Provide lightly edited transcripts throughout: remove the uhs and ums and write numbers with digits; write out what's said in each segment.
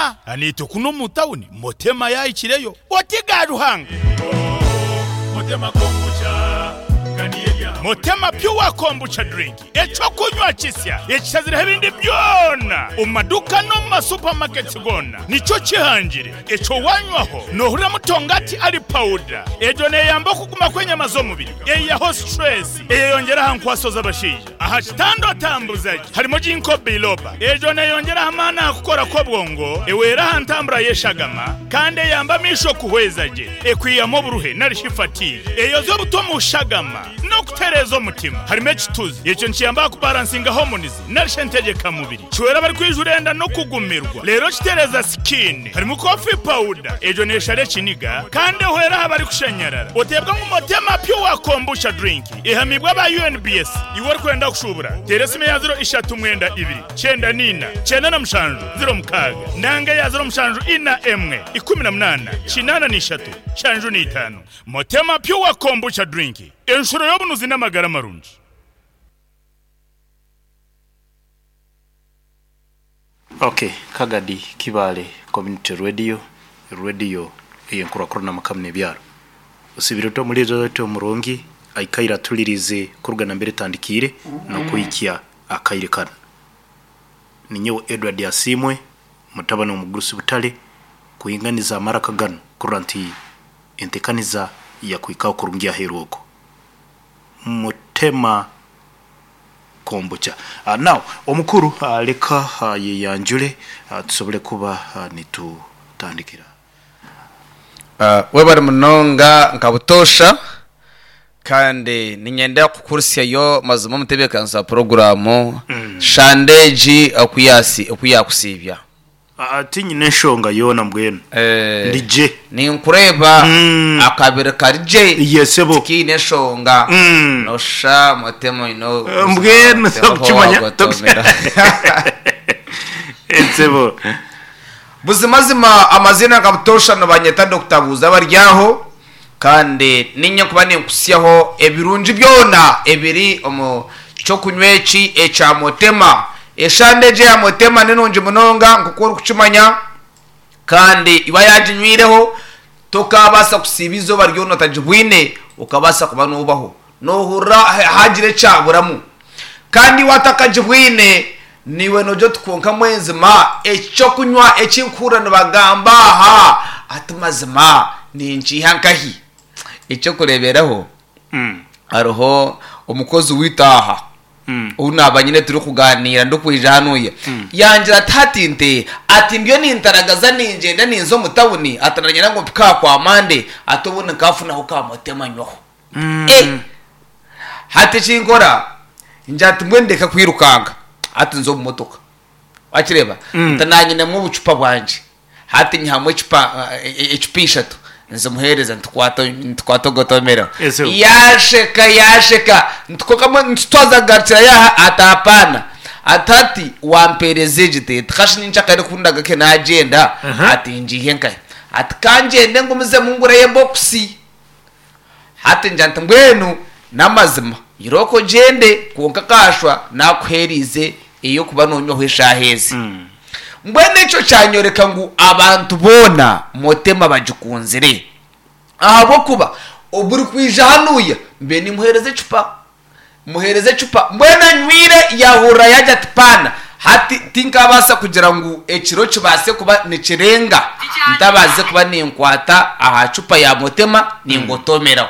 Motema. Naitwe kunu omu tawuni Motema yaahikireyo. Oti ga Ruhanga! Motema Pure Kombucha Drink, eky'okunywa kisya ekishazireho ebindi byona omu maduuka n'omu ma supermarkets goona nikyo kihangire. Ekyo wanywaho nohuriramu tongati ali powder. Egyo neyamba okuguma kw'enyama z'omubiri, eyihaho stress, eyeyongyera aha nkwaso z'abashaija. Aha kitanda otambuza gye harimu Ginkgo biloba. Egyo neyongyera aha maani aha kukora kw'obwongo, ehwera aha ntambura y'eshagama, kandi eyamba amaisho kuhweza gye, ekwihamu oburuhe nari shi fatigue, eyozya obutwa omu shagama, n'okutereeza omutima. Harimu ekituzi, ekyo nikiyamba aha kubaransinga hormones nari shi entegyeka mubiri. Kihwera abarikwijura enda n'okugumirwa, reero kitereeza skin. Harimu coffee powder, egyo neshara ekiniga kandi ehwera aha barikushanyarara. Oteebwa ngu Motema Pure Kombucha Drink ehamiibwe aba UNBS. Iwe orikwenda kushuubura, teera esimu eya ziro ishatu mwenda ibiri, kyenda n'ina, kyenda na mushanju, ziro mukaaga nanga eya ziro mushanju ina emwe, ikumi na munaana, kinaana n'ishatu, nshanju n'itaano. Motema Pure Kombucha Drink, enshuro y'obunuzi n'amagara marungi. Ok Kagadi Kibaale Community Radio, Radio eyenkurakurana mukama nebyaro. Osibire ota omuliiza waitu omurungi aikaire atuliriize kuruga nambere etandikiire nokuhikya akaire kanu. Ninyowe Edward Asiimwe mutabani womugurusi Butare kuhinganiza amaraka ganu kurora nti entekaniza yakuhikaho kurungi aheru okwo. Mutema Kombucha. Now omukuru leka ayeyanjure tusobole kuba nitutandikira. Webare munonga nka butoosha kandi niinyenda kukuhuritsyayo mazima omutebeekanisa wa puroguraamu shande egi oku yaakusiibya. Tinyine nshonga yoona mbwenu ndi gye. Ninkureeba akabiri kari gye. Ye sebo. Tikiine nshonga. Noshusha mutema oine Mbwenu tokukimanya. Sebo. Buzimazima amaziina nka butoosha nibanyeta Dokita Buuza Baryaho kandi niinye nkuba ninkuhitsyaho ebirungi byona ebiri omu ky'okunywa eki ekya Motema. Eshande egi eya Motema ni nungi munonga nk'oku orikukimanya kandi iwe ayaaginywireho tokaabaasa kusiiba eizooba ryona otagibwine okabaasa kuba noobaho. Noohurira haagira ekyaburamu. Kandi iwe atakagibwine, naiwe noogira oti kwonka mwenzima eki ky'okunywa eki nkuhurira nibagamba aha ati mazima ninkiiha nkahi? Eky'okureeberaho, hariho omukozi waitu aha ou naaba nyine turikugaaniira ndikwija hanuya, yangira ati hati nte, ati ndiyo nintaragaza ningyenda ninza omu tawuni ati nanyenda ngu mpike aha kwa Mande ati obundi nkaafunaho ka motema nyweho. Eh! Hati eki nkora, ngira nti mbwenu ndeke kwirukanga, hati nze omu motoka. Wakireeba? Nti naanyinemu obucupa bwangye. Hati nyihamu ecupa ecupa ishatu nzimuheereza nti kwata nti kwata ogotomereho. Ese- Yaasheka yaasheka nti kwonka mbwenu nti twaza kugarukirayo aha ati hapaana. Ati hati wampeereza egi te nti kashi nyenkyakare ku ndagaruke naagyenda ati ngiihe nkahi? Ati kangyende ngumizemu ngureyo ebokisi. Hati ngira nti, Mbwenu n'amazima, irooko ogyende, kwonka kaashwa naakuheereize ey'okuba noonywaho eshaaha ezi. Mbwenu ekyo kyanyoreka ngu abantu boona Motema bagikunzire, ahabw'okuba oburikwija hanuya mbe nimuheereza ecupa. Muheereze ecupa. Mbwenu anywire yaahurira yaagira ati, Paana, hati tinkaabaasa kugira ngu ekiro kibaase kuba nikirenga ntabaasize kuba ninkwata aha cupa ya Motema ningotomeraho.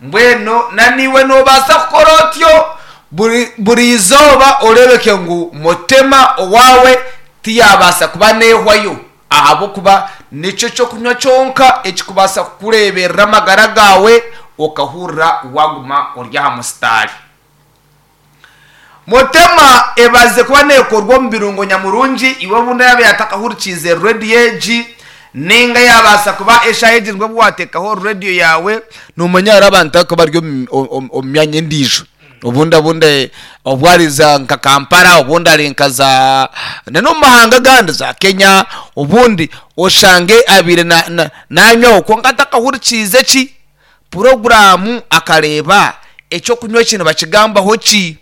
Mbwenu na naiwe noobaasa kukora otyo buri buri izooba oreebeke ngu Motema owaawe tiyaabaasa kuba neehwayo ahabw'okuba nikyo ky'okunywa kyonka ekikubaasa kukureeberera amagara gaawe okahurira waaguma ori aha musitaari. Motema ebazize kuba neekorwa omu birungo nyamurungi, iwe obundi yaaba yaatakahurikiize rediyo egi nainga yaabaasa kuba eshaaha egi nibwo obu waateekaho rediyo yaawe, noomanya hariho abantu abarikuba bari omu myanya endiijo. Obundi obundi obu ari za nka Kampala, obundi ari nka za na n'omu mahanga agandi za Kenya, obundi oshange abaire na na nanywaho kwonka atakahurikiize ki puroguraamu akareeba eky'okunywa eki nibakigambaho ki.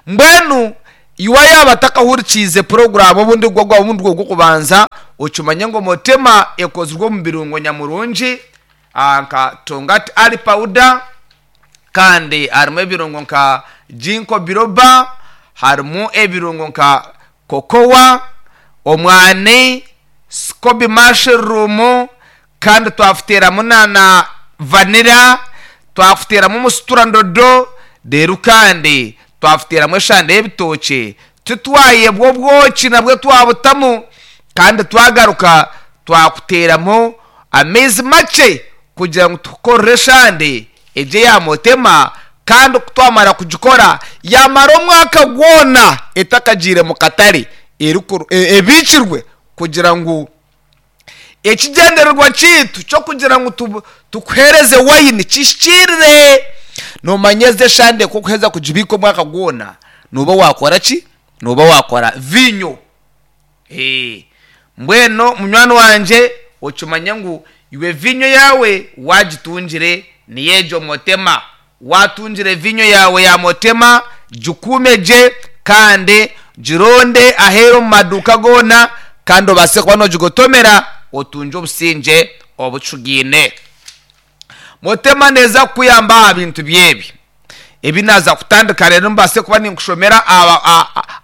Mbwenu. Iwe yaaba atakahurikiize puroguraamu obundi gwo gwaba obundi gwo gw'okubanza, okimanye ngu Motema ekozirwe omu birungo nyamurungi nka Tongati Ali Powder kandi harimu ebirungo nka Ginkgo Biloba, harimu ebirungo nka Cocoa, omwani, Scoby Mushroom kandi twafuteeramu na na vanilla, twafuteeramu omusuturandodo reero kandi twafuteeramu eshande y'ebitookye, titwayebwa obwoki nabwo twabutamu kandi twagaruka twakuteeramu amaizi makye kugira ngu tukukorere eshande egyo eya motema kandi ku twamara kugikora yamara omwaka gwona etakagiire mu katare ebiikirwe kugira ngu Ekigyendererwa kyaitu ky'okugira ngu tukuheereze waini kihikiirire. Noomanya ezi eshande ku orikuheza kugibiika omwaka gwona, nooba waakora ki? Nooba waakora viinyo. Mbwenu munywani wangye okimanye ngu iwe viinyo yaawe waagitungire niyo egyo motema. Waatungire viinyo yaawe ya motema, gikuume gye kandi gironde aheeru omu maduuka goona kandi obaase kuba noogigotomera otungye obusingye obucugaine. Motema neeza kukuyamba aha bintu by'ebi ebi naaza kutandika reero mbaase kuba ninkushomera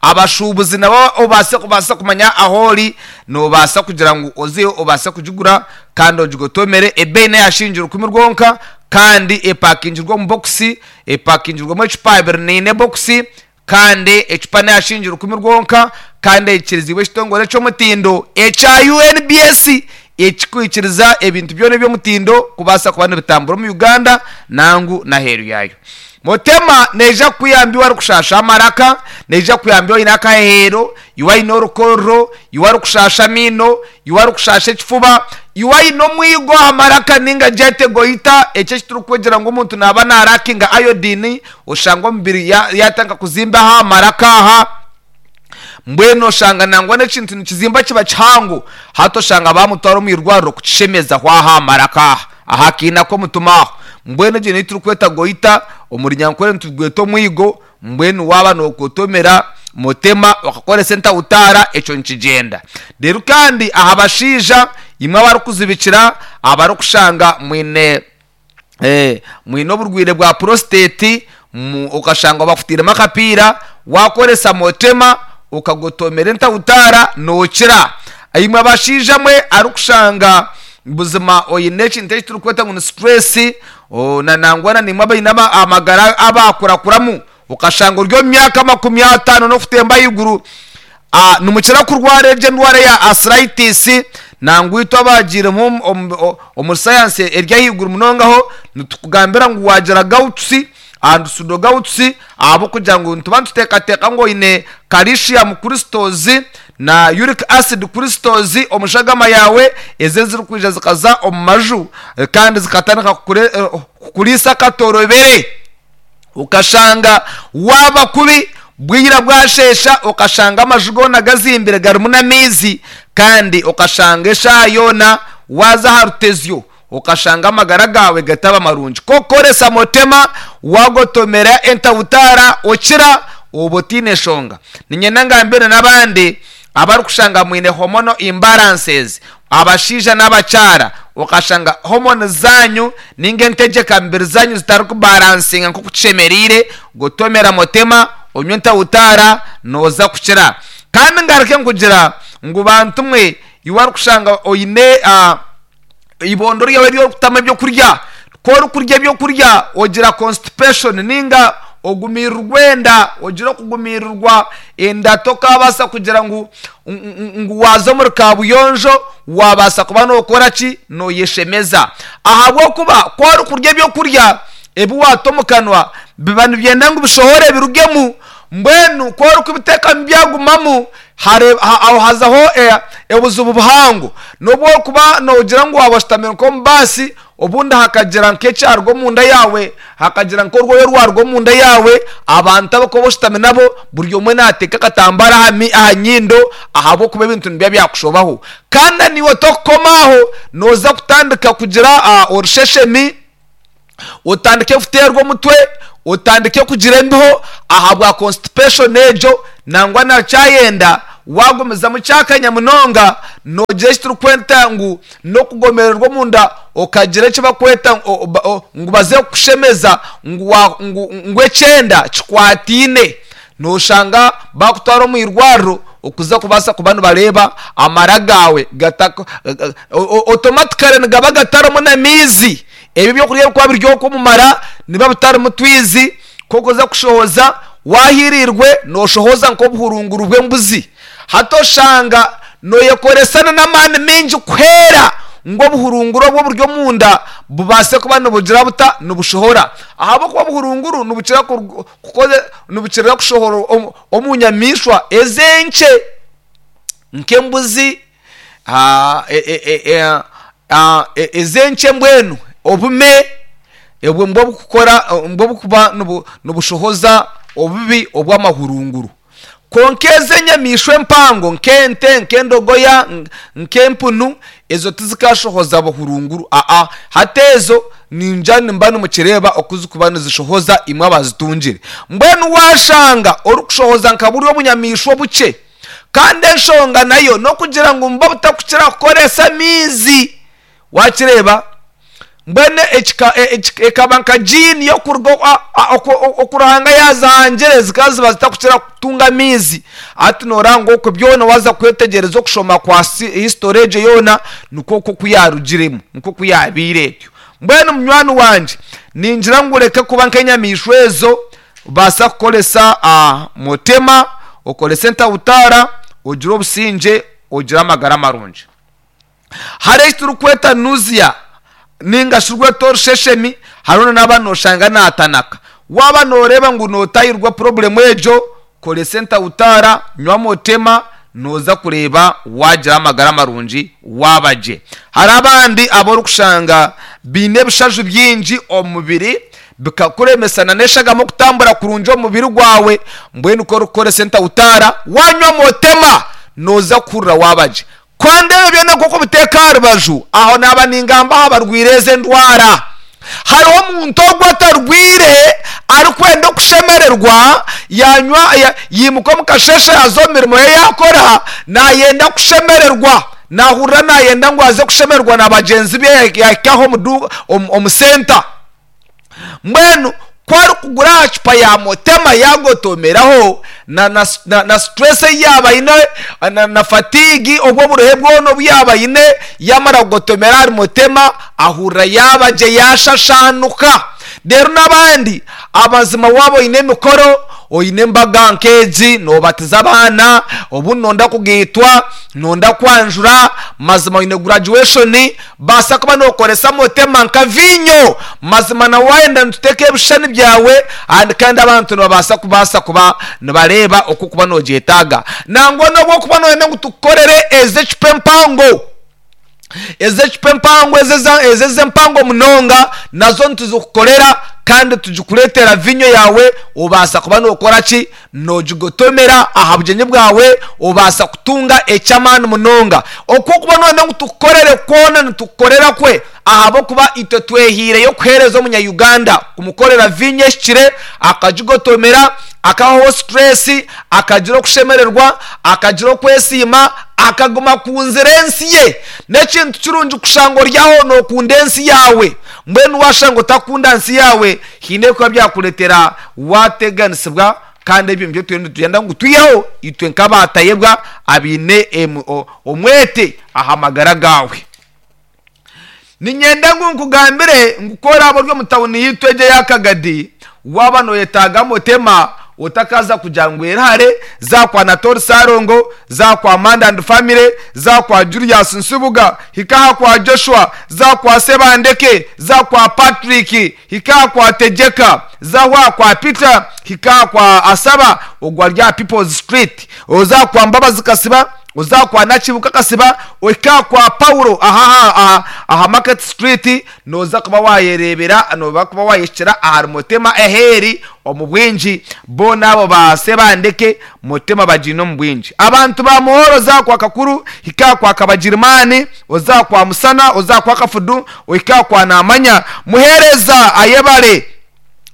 abashuubuzi nabo obaase kubaasa kumanya ahu ori noobaasa kugira ngu ozeyo obaase kugigura kandi ogigotomere ebeeyi n'eya shiringi rukumi rwonka. Kandi epakingirwe omu bokisi, epakingirwemu ecupa 24 ebokisi, kandi ecupa n'eya shiringi rukumi rwonka, kandi eikiriziibwe ekitongore eky'omutindo ekya UNBS ekirikwikiriza ebintu byona eby'omutindo kubaasa kuba nibitambura omu Uganda nangu n'aheeru yaayo. Motema neija kukuyamba iwe arikushasha amaraka, neija kukuyamba iwe oine akaheheero, iwe aine orukorro, iwe arikushasha amaino, Iwe arikushasha ekifuba, iwe aine omwigo aha maraka ninga gyete goita, eki ekiturikwegyera ngu omuntu naaba narakinga iodine oshanga omubiri yatandika kuzimba aha maraka aha, mbwenu oshanga nangwa n'ekintu nikizimba kiba kihango, hati oshanga bamutwara omu irwariro kukishemezaho aha aha maraka aha, aha kaina k'omutima aho. Mbwenu egyo niyo turikweta goita, omu runyankore nitugweta omwigo. Mbwenu waaba nookotomera mutema okakoresa entawutaara, ekyo nikigyenda. Reero kandi aha bashaija, imwe abarikuzibikira, abarikushanga mwine mwine oburwaire bwa prostate, okashanga bakutairemu akapiira, waakoresa motema okagotomera entawutaara nookira. Imwe abashaija mwe arikushanga buzima oine ekintu eki turikweta ngu ni stress, Na nangwa na naimwe abaine amagara abaakurakuramu, okashanga ori omu myaka 50 n'okutemba ahaiguru, nimukira kurwara egyo endwara eya arthritis. Nangwa itwe abaagiiremu omuri sayansi eri ahaiguru munongaho, nitukugambira ngu waagira gouts and pseudogouts ahabw'okugira ngu nituba nituteekateeka ngu oine calcium crystals na uric acid crystals omu shagama yaawe, ezo ezirikwija zikaza omu maju kandi zikatandika kukuriisa akatorobere, okashanga waaba kubi bwira bwasheesha okashanga amaju goona gazimbire garimu n'amaizi kandi okashanga eshaaha yoona waaza aha rutezyo okashanga amagara gaawe gataba marungi. Ku okukoresa motema waagotomera entawutaara okira, oba otaine nshonga. Niinyenda ngambire n'abandi abarikushanga mwine hormonal imbalances, abashaija n'abakyara, okashanga hormones zaanyu nainga entegyeka mibiri zaanyu zitarikubalansinga nk'oku kishemereire, gotomera motema, onywe entawutaara, nooza kukira. Kandi ngaruke nkugira ngu bantu mwe, iwe arikushanga oine Eibondo ryawe eri orikutamu ebyokurya, ku orikurya ebyokurya ogira constipation ninga ogumiirirwa enda, ogira okugumiirirwa enda tokabaasa kugira ngu ngu waaza omuri kaabuyonjo waabaasa kuba nookora ki, nooyeshemeza. Ahabw'okuba ku orikurya ebyokurya ebi waata omu kanwa biba nibyenda ngu bishohore birugemu, mbwenu ku orikubiteekamu byagumamu, Aho hazaho obuzibu buhango. N'obu orikuba noogira ngu waaba oshutamire nk'omu baasi, obundi hakagira nk'ekyaruga omunda yaawe, hakagira nk'orwoya orwaruga omunda yaawe, abantu abu orikuba oshutami nabo buri omwe naateeka akatambaara aha nyindo ahabw'okuba ebintu nibiba byakushobaho. Kandi na naiwe torikukoma aho, nooza kutandika kugira orusheshemi. otandike kuteerwa omutwe, otandike kugira embeho ahabwa constipation egyo. Nangwa na kyayenda waagumizamu kyakanya munonga, noogira eki turikweta ngu n'okugomererwa omunda okagira eki barikweta ngu baze kukushemeza ngu ekyenda kikwataine. Nooshanga baakutwara omu irwariro okuza kubaasa kuba nibareeba amara gaawe otomatikare nigaba gatarimu n'amaizi. Ebi ebyokurya ebirikuba biri okwo omu mara nibiba bitarimu twizi. Ku orikuza kushohoza waahiiriirwe nooshohoza nk'obuhurunguru bw'embuzi. Hati oshanga nooyekoresa n'amaani maingi kuhwera ngu obuhurunguru obu oburi omunda bubaase kuba nibugira buta? Nibushohora. Ahabw'okuba obuhurunguru nibukira nibukira kushohora omu nyamaishwa ez'enkye nk'embuzi, ez'enkye mbwenu obume obwo nibwo burikukora nibwo burikuba nibushohoza obubi obw'amahurunguru. Kwonka ezi enyamaishwa empango nk'ente, nk'endogoya, nk'empunu ezo tizikashohoza buhurunguru aa hati ezo ningira nimuba nimukireeba oku zirikuba nizishohoza imwe abazitungire. Mbwenu waashanga orikushohoza nka buriya obunyamaishwa obukye Kandi enshonga nayo n'okugira ngu nibo butakukira kukoresa amaizi. Wakireeba? Mbwenu ekaba nka jiini y'okuruga oku Ruhanga yaazihangire zikaba ziba zitakukira kutunga amaizi. Hati nooreba ngu okwo byona waaza kwetegyereza okushoma kwa history egyo yoona nikwo okwo oku yaarugiremu, nikwo oku yaabaire etyo. Mbwenu munywani wangye, ningira ngu oreke kuba nk'enyamaishwa ezo. Obaasa kukoresa motema, okorese entahutaara, ogire obusingye, ogire amagara marungi. Hariho eki turikweta nausea ninga shi rwete orusheshemi, hariho n'aba noshanga natanaka. Waaba noreeba ngu notahirwa purobulemu egyo, koresa entahutaara, nywa motema, noza kureeba wagira amagara marungi waaba gye. Hariho abandi abu orikushanga baine ebishaju bingi omu mubiri, bikakuremesa na n'eshagama okutambura kurungi omu mubiri gwawe, mbwenu ku orikukoresa entahutaara wanywa motema noza kuhurira waaba gye. Kandi ebyo byona nk'oku obiteeka aha rubaju, aho naaba ningamba aha barwaire ezo endwara. Hariho omuntu ogwo atarwaire arikwenda okushemererwa, yanywa yaimuka omu kasheeshe yaaza omu mirimo ye yaakora, naayenda kushemererwa, naahurira naayenda ngu aze kushemererwa na bagyenzi be yaahika aho omu senta. Mbwenu ku arikugura aha cupa ya Motema yaagotomeraho na stress ei yaaba aine na fatigue obwo oburuhe bwona obu yaaba aine yaamara kugotomera ahari Motema ahurira yaaba gye yaashashaanuka. Reero n'abandi amazima waaba oine emikoro, oine embaga nk'egi noobatiza abaana, obundi nooyenda kugaitwa, nooyenda kwanjura, mazima oine graduation, Baasa kuba nookoresa motema nka viinyo. Mazima na waayenda nituteeka ebishushani byawe ahandi kandi abantu nibabaasa kubaasa kuba nibareeba oku okuba noogyetaaga. Nangwa n'obu okuba nooyenda ngu tukukorere ez'ecupa empango, ez'ecupa empango, ezo ez'empango munonga nazo nituzikukorera kandi tugikureetera viinyo yaawe obaasa kuba nookora ki? Noogigotomera aha bugyenyi bwawe, obaasa kutunga eky'amaani munonga. Oku orikuba nooyenda ngu tukukorere kwona nitukukorera kwe, ahabw'okuba itwe twehaireyo kuheereza omunya-Uganda, kumukorera viinyo ehikire, akagigotomera, akahwaho situreesi, akagira okushemererwa, akagira okwesiima, akaguma akunzire ensi ye. N'ekintu kirungi kushanga ori aho nookunda ensi yaawe. Mbwenu waashanga otakunda nsi yaawe, haine ebikuba byakureetera waateganisibwa kandi ebyo nibyo turiyo nitwenda ngu twiheho itwe nk'abaatayebwa abaine omwete aha magara gaawe. Niinyenda ngu nkugambire ngu ku oraabe ori omu tawuni yaitu egi eya Kagadi, waaba nooyetaaga Motema, otakaaza kugira ngu eri hare, za kwa Natori Ssalongo, za kwa Manda and Family, za kwa Julius Nsubuga, hika aha kwa Joshua, za kwa Sebandeke, za kwa Patrick, Hika aha kwa Tegyeka, zaho aha kwa Peter, hika aha kwa Asaba, ogwo ari aha People's Street, oze aha kwa Mbabazi Kasiba, oze aha kwa Nakibuka Kasiba, ohike aha kwa Paulo aha aha aha Market Street, nooza kuba waayereebera, nooba kuba waayehikira ahari Motema eheeri omu bwingi. Boona abo ba Sebandeke, Motema bagiine omu bwingi. Abantu ba Muhoro oze aha kwa Kakuru, hika aha kwa Kabagirimaani, Oze aha kwa Musana, oze aha kwa Kafudu, ohike aha kwa Naamanya. Muheereza ayebare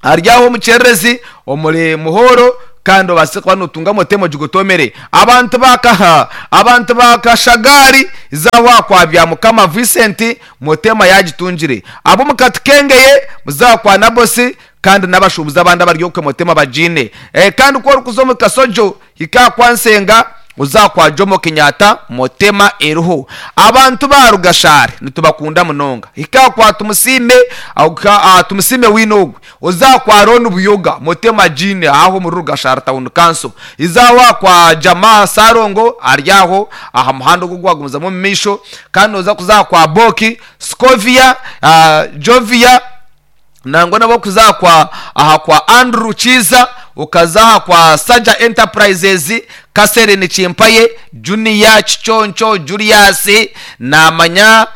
ari aho omu kyererezi omuri Muhoro. Kandi obaase kuba nootunga motema ogigotomere. Abantu ba Kaha, abantu ba Kashagari, za kwa Byamukama Vincent, motema yaagitungire. Ab'omu Katukengeye, za kwa Nabosi, kandi n'abashuubuzi abandi abari okwe motema bagiine. Kandi ku orikuza omu Kasojo, hika aha kwa Nsenga, oze aha kwa Jomo Kenyatta, motema eriho. Abantu ba Rugashare nitubakunda munonga. Hika aha kwa Tumusiime, Tumusiime wiine ogwe. Oze aha kwa Ron Buyoga, Motema Jean aho omuri Rugashara Town Council. Iza aho aha kwa Jamaa Ssalongo ari aho aha muhanda ogu ogwagumizamu omu maisho. Kandi noza kuza aha kwa Boki, Scovia, Jovia nangwa n'abarikuza aha kwa aha kwa Andrew Kiiza, okaza aha kwa Saja Enterprises, Catherine Kimpaye, Junior, Kiconco, Julius, naamanya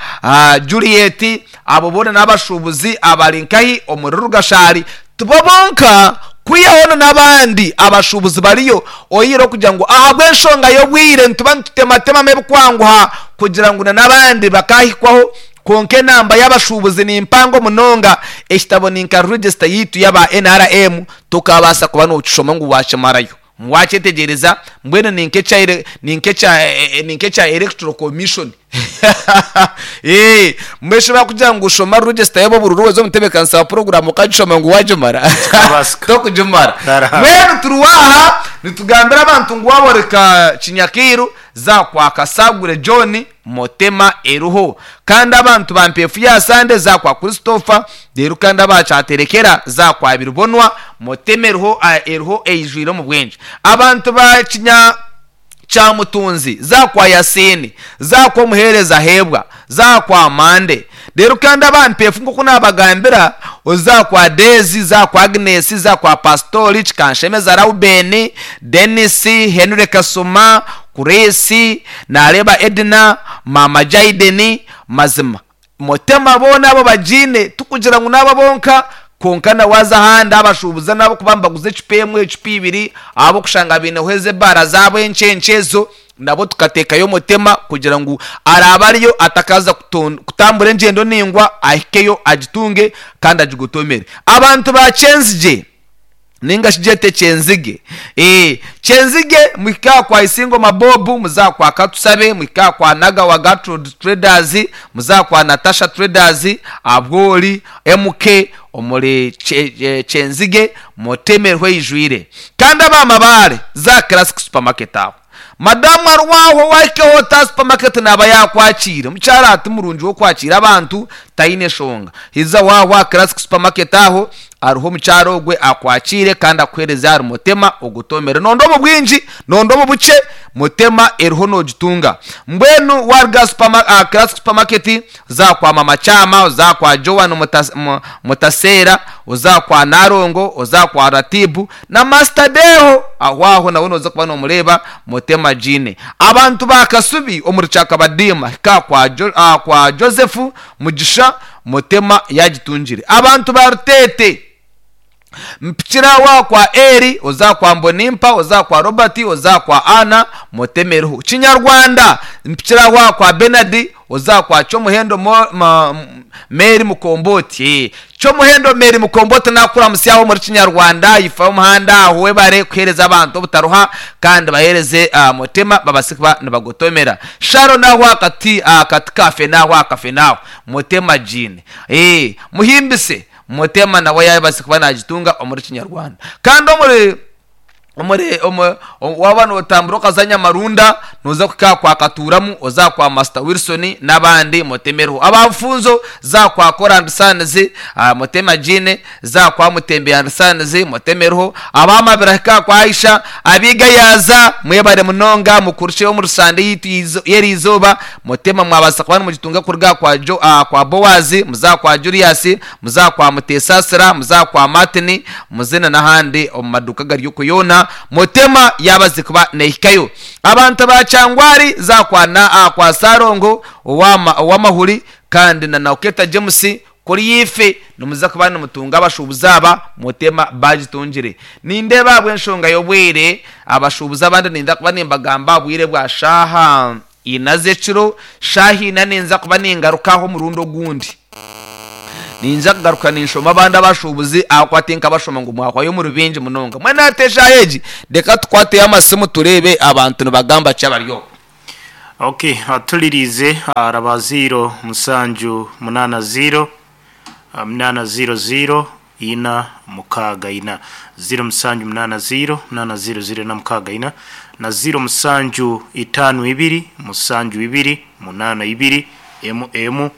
Juliet, Abo boona n'abashuubuzi abari nkahi omuri Rugashari. Tibo bonka, kwihaho na n'abandi abashuubuzi bariyo, oihireho okugira ngu ahabw'enshonga y'obwire nituba nitutematemamu ebikwanguha kugira ngu na n'abandi bakaahikwaho. Kwonka enamba y'abashuubuzi ni mpango munonga. Ekitabo ni nka register yaitu y'aba nrm, tokaabaasa kuba nookishoma ngu waakimarayo. Waakyetegyereza? Mbwenu ni nk'ekya, ni nk'ekya, ni nk'ekya Electoral Commission. Ee, mbwenu shi baakugira ngu shoma register y'ab'oburuuru weza omu ntebeekanisa wa puroguraamu okagishoma ngu waagimara? Kikabaasika. Tokugimara. Taraha. Mbwenu turi aha nitugambira abantu ngu waaba ori ka Kinyakairu, za kwa Kasagure John, Motema eriho. Kandi abantu ba Mpeefu ya Sande za kwa Christopher, reero kandi aba Kyaterekera za kwa Biribonwa, Motema eriho eriho eijwire omu bwingi. Abantu ba Kinya Kyamutunzi za kwa Yasiini, za kwa Omuheereza Heebwa, za kwa Mande. Reero kandi aba Mpeefu nk'oku naabagambira, oza kwa Deezi, za kwa Agnes, za kwa Pasitori, Kikanshemeza Raubeeni, Denis, Henry Kasuma, Chris, naareeba Edna, maama Jayden, mazima Mutema boona abo bagiine, tikugira ngu n'abo bonka, kwonka na waaza ahandi abashuubuzi n'abarikuba nibaguza ecupa emwe, ecupa ibiri, ahabw'okushanga baineho ezo ebaara zaabo enkye nkye ezo, nabo tukateekayo Mutema kugira ngu araabe ariyo atakaaza kutambura engyendo ndaingwa ahikeyo agitunge kandi agigotomere. Abantu ba Kyenzigye. Ninga shi gyete Kyenzige. Eeh Kyenzige muhike aha kwa Isingoma Bob, muze aha kwa Katusabe, muhike aha kwa Nagawa Gertrude Traders, muze aha kwa Natasha Traders, Abwori, MK omuri Kyenzige mutemerwe eijwire. Kandi aba Mabaare za Classic Supermarket aho. Madamu arwaho wahikeho ota supermarket naaba yaakwakiire. Omukyara ati murungi w'okwakiira abantu taine shonga. Hiza waahwa aha Classic Supermarket aho hariho omukyara ogwe akwakiire kandi akuheereze ahari Motema ogutomere. Nonda omu bwingi, nonda omu bukye, Motema eriho noogitunga. Mbwenu waaruga aha Classic Supermarket oza kwa Mama Kyama, oza kwa Joan Mutaseera, oza kwa Nalongo, oza kwa Ratibu na Master Deho aho aho nawe noza kuba nomureeba Mutema Jeane. Abantu ba Kasubi omuri Kyakabadiima hika kwa kwa Joseph Mugisha Mutema yagitungire. Abantu ba Ruteete Mpikira aho kwa Eri, oza kwa Mbonimpa, oza kwa Robert, oza kwa Anna, Mutema eriho. Kinyarwanda, Mpikira aho kwa Bernard, oza kwa Kyomuhendo Mary Mukomboti. Kyomuhendo Mary Mukomboti nakuramutsya aho omuri Kinyarwanda, ifa y'omuhanda aho webare kuhereza abantu obutaruha kandi bahereze Mutema babase kuba nibagotomera. Sharon aho akati akati ka fene aho akafene aho Mutema Jean. Muhimbise. Mutema nawe yaabaasa kuba naagitunga omuri Kinyarwanda. Kandi omuri omuri omu waaba nootambura okaza Nyamarunda, nooza kuhika aha kwa Katuuramu, oze aha kwa Master Wilson n'abandi Mutema eriho. Aba Bufunzo, za aha kwa Kora and Sons, Mutema Jean, za aha kwa Mutembe and Sons, Mutema eriho. Aba Mabira hika aha kwa Aisha, ab'Igayaaza mwebare munonga mukurukye omuri Sande yaitu y'eriizooba, Mutema mwabaasa kuba nimugitunga kuruga aha kwa Jo aha kwa Boazi, muze aha kwa Julius, muze aha kwa Mutesaasira, muze aha kwa Martin, muze na n'ahandi omu maduuka agari okwo yoona Mutema yaabaze kuba neehikayo. Abantu ba Kyangwari za aha kwa na aha kwa Ssalongo owa ow'amahuri kandi na Nauketa James kuri ife nimuza kuba nimutunga abashuubuzi aba Mutema baagitungire. Nindeeba ahabw'enshonga y'obwire abashuubuzi abandi ninza kuba nimbagamba aha bwire bwa shaaha ina z'ekiro, shaaha ina ninza kuba ningaruka aha omurundi ogundi. Ninza kugaruka ninshoma abandi abashuubuzi ahakuba tinkabashoma ngu mwahwayo muri baingi munonga. Mbwenu hati eshaaha egi reka tukwateyo amasimu tureebe abantu nibagamba ki abari okwo. Ok, atuliriize araba ziiro musanju munaana ziiro munaana ziiro ziiro ina mukaaga ina ziiro musanju munaana ziiro munaana ziiro ziiro ina mukaaga ina na ziiro musanju itaano ibiri musanju ibiri munaana ibiri emu emu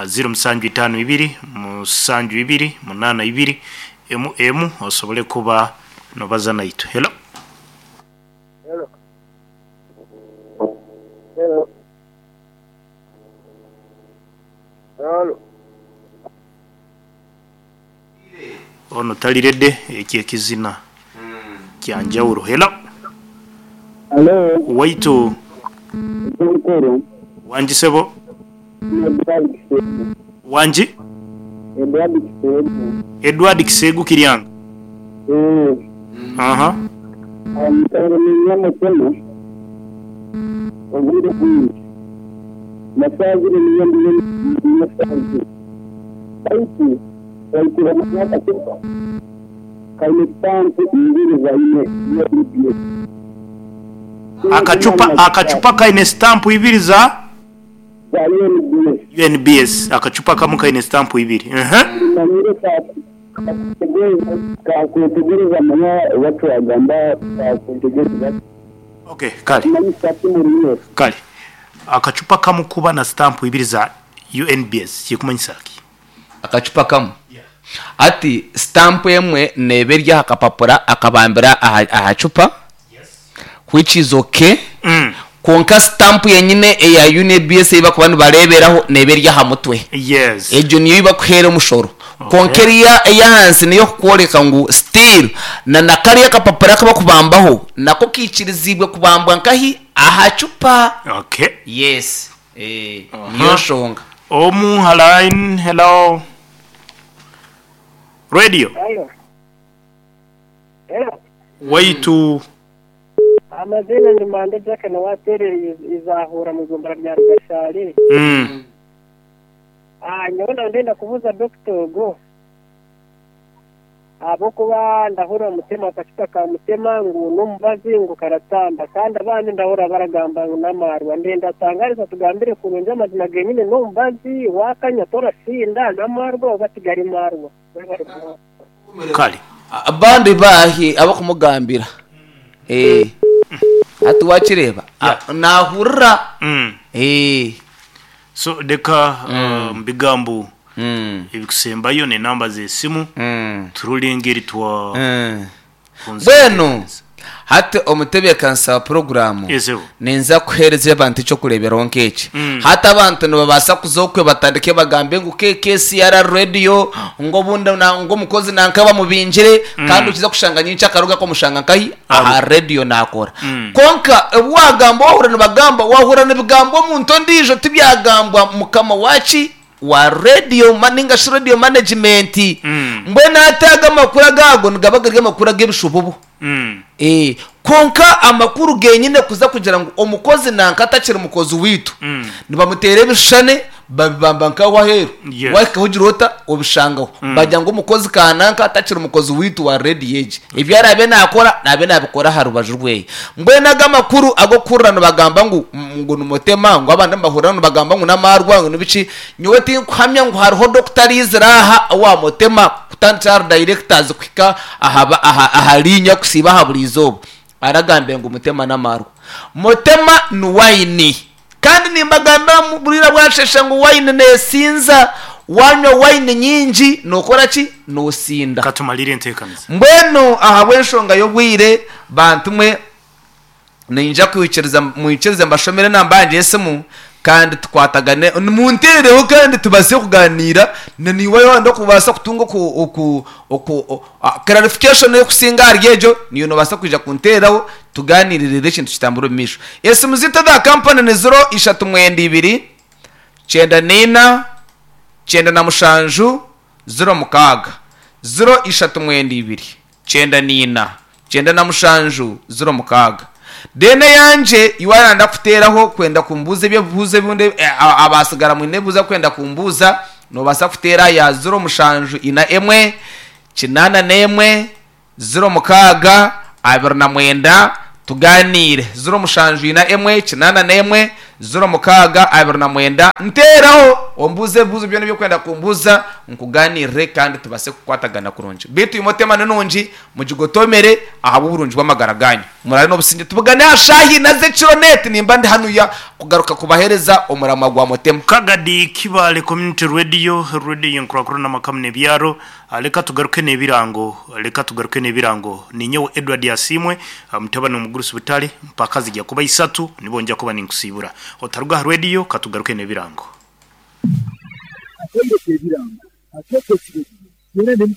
ziiro musanju itaano ibiri musanju ibiri munaana ibiri emu emu osobole kuba nobaza naitwe. Hello. Hello. Hello. Hello. Ono tali ready, ekyo ekizina kya njawulo. Hello. Hello. Waitu. Eky'omukuru. Wangi sebo. Ni Edward Kiseegu. Wangi? Edward Kiseegu. Edward Kiseegu Kiryanga? Eeh. Aha. Omusango niinywa mutema obwire bwingi. Nasazire niyo ndiyo niinywa sazire. Baitu Waikura n'akacupa kaine sitampu ibiri za UNBS. Akacupa akacupa kaine sitampu ibiri za? Za UNBS. UNBS. Akacupa akamu kaine sitampu ibiri. Ehe. Manyire kakwetegyereza manya oba twagamba kakwetegyereza. Okay, kale. Kumanyisa ki muri Kale. Akacupa kamu kuba na sitampu ibiri za UNBS kirikumanyisa ki? Akacupa kamwe. Hati sitampu emwe neeba eri aha kapapura akabambira aha cupa which is okay kwonka sitampu yenyine eya UNBS ei barikuba nibareeberaho neeba eri aha mutwe. Egyo niyo ei barikuheera omushoro. Kwonka eriya ey'ahansi n'ey'okukworeka ngu still na na kariya akapapura aku barikubambaho nako kaikiriziibwe kubambwa nkahi? Aha cupa. Yes. Niyo nshonga. Omu ha line, hello Radio. Hello. Hello. Waitu. Amaziina ndi Mande Jack nowaterera Izahura mu igombora rya Rugashari. Nyowe naba ndenda kubuuza dokita ogu ahabw'okuba ndahurira mutema akacupa ka mutema ngu n'omubazi ngu karatamba kandi abandi ndahurira baragamba ngu n'amaarwa. Ndenda atangarize atugambire kurungi amazima genyine n'omubazi waakanywa torasinda n'amaarwa oba tigari maarwa? Webare munonga. Kare. Abandi baahi abakumugambira? Eh. Hati wakireeba? Naahurira. Eh. So reka omu bigambo ebikusembayo n'enamba z'esimu turore engeri twa Mbwenu hati omutebeekanisa wa puroguraamu ninza kuheereza abantu eky'okureeberaho nk'eki. Hati abantu nibabaasa kuza okwe batandike bagambe ngu KKCR Radio ngu obundi ngu omukozi nanka bamubingire kandi okiza kushanga nyenkya akaruga akamushanga nkahi? Aha radiyo naakora. Kwonka ebi waagamba waahurira nibagamba, waahurira nibigambwa omuntu ondiijo tibyagambwa mukama waaki? Wa radiyo ninga shi radiyo manegimenti. Mbwenu hati ago amakuru agaago nigaba gari amakuru ag'ebishububu. Kwonka amakuru genyine kuza kugira ngu omukozi nanka atakiri mukozi waitu, nibamuteera ebishushane babibamba nk'aho aheeru. Waahikaho ogira ota? Obishangaho. Bagira ngu omukozi kananka atakiri mukozi waitu wa radiyo egi. Ebi araabe naakora, naabe naabikora aha rubaju rweye. Mbwenu ago amakuru ag'okuhurira nibagamba ngu ngu nimutema, ngu abandi nibahurira nibagamba ngu n'amaarwa ngu nibiki, nyowe tinkuhamya ngu hariho dokita araizire aha owa mutema kutandikira ahari dayirekitazi kuhika aha aha aha liinya kusiiba aha buri izooba aragambe ngu mutema n'amaarwa. Mutema ni wayini. Kandi nimbagambira buriira bwashesha ngu wayini neesinza. Waanywa wayini nyingi nookora ki? Noosinda. Ka tumarire enteekaniza. Mbwenu ahabw'enshonga y'obwire, bantu mwe, niinyija kwikiriza mwikirize mbashomere enamba yangye y'esimu kandi tukwatagane, munteereho kandi tubaase kugaaniira, na naiwe waaba orikubaasa kutunga oku, oku, oku, clarification erikusinga ahari egyo, naiwe noobaasa kwija kunteeraho tugaaniire reero ekintu kitambure omu maisho. Esimu zaitu eza kampani ni ziro ishatu mwenda ibiri, kyenda naina, 97, 06, ziro ishatu mwenda ibiri, 94, 97, 06. Then eyangye iwe aranda kuteeraho kwenda kumbuuza eby'ebibuuzo ebindi, abaatsigara mwine ebibuuzo akwenda kumbuuza, Noobaasa kuteera ya 0741 81 06 29 tugaaniire. 0741 81 06 29 Nteeraho ombuuze ebibuuzo byona ebi orikwenda kumbuuza nkugaaniirire kandi tubaase kukwatagana kurungi. Beitu imwe tema ni nungi mugigotomere ahabw'oburungi bw'amagara gaanyu. Muraare n'obusingye tubugane aha shaaha ina z'ekiro neeti nimba ndi hanuya kugaruka kubaheereza omuramwa gwa Mutema. Kagadi Kibaale Community Radio, Radio Enkurakurana Amaka N'ebyaro. Leka tugaruke n'ebirango, leka tugaruke n'ebirango. Ninyowe Edward Asiimwe, mutabani w'omugurusi Butare, mpaka zigya kuba isatu nibwo ngya kuba ninkusiibura. Otaruga aha radio, katugaruke n'ebirango. Akaiire k'ebirango akeekekire gye, Twena n'emikago.